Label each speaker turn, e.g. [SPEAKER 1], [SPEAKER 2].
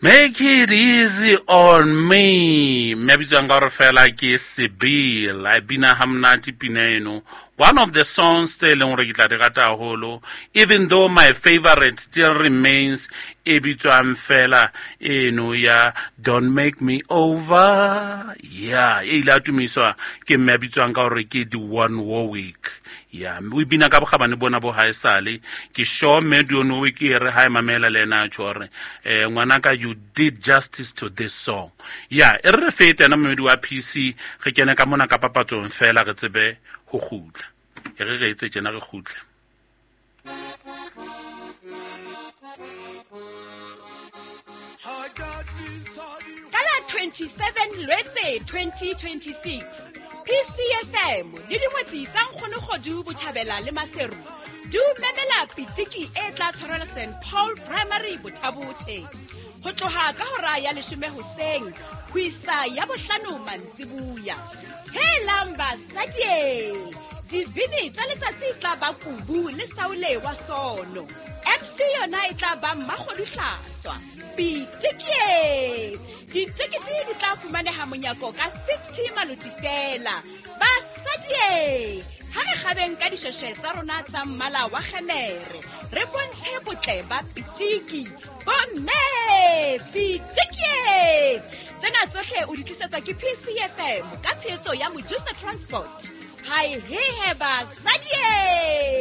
[SPEAKER 1] Make it easy on me. Mme a bitswang ka gore fela ke Sibyl. A bina ha monate pina eno. One of the songs tse e leng gore ke tla di rata haholo, even though my favorite still remains e bitswang fela eno ya Don't Make Me Over. Yeah, e ile a tumiswa ke mme a bitswang ka gore ke Dionne Warwick. Ya, o bina ka bogabane bona bo ha esale. Ke sure mme Dionne Warwick e re ha e mamela le ena a tjho hore, ngwanaka, you did justice to this song. Ya, e re re fete ena momedi wa PC, re kene ka mona ka papatsong fela re tsebe ho kgutla. E re re etse tjena re kgutle.
[SPEAKER 2] Ka la 27 Lwetse 2026, PCFM le dingwetsi tsa Nkgonogodu Botjhabela le Maseru di o memela pitiki e tla tshwarelwa St Paul Primary Bothabothe ho tloha ka hora ya leshome hoseng ho isa ya bohlano mantsibuya. Helang basadi! Dibini tsa letsatsi tla ba Kubu le Saule wa Sono. MC yona e tla ba Mmakgodu Hlaswa. Pitikie! Ditekete di tla fumaneha monyako ka 50 maloti fela. Basadi! Ha re kgabeng ka dishweshwe tsa rona tsa mmala wa kgemere, re bontshe botle ba pitiki. Bomme! Pitikie! Tsena tsohle o di tlisetswa ke PCFM ka tshehetso ya Mojusa Transport. Hai hehe basadi!